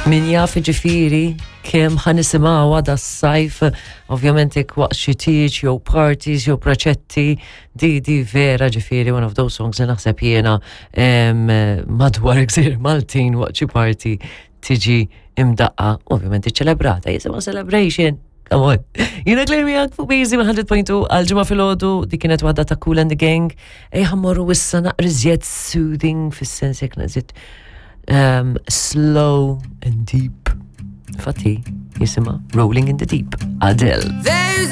Min jaf ġifieri kemm ħa nisimgħuha da sajf, ovvjament jekk waqt xi tieġ jew parties jew proċetti, di di vera ġifieri one of those songs li naħseb jiena madwar gżir Maltin waqt xi party tiġi imdaqqa, ovvjament iċċelebrata, jisimha celebration. Come on. Jiena Claire miegħek fuq Busy 100.2 għal-ġimgħa filgħodu di kienet waħda ta' Kool and the Gang. Ejja mmorru issa naqra iżjed soothing fis-sens jekk naqżiet slow and deep. Fatti jisimha Rolling in the Deep. Adele. There's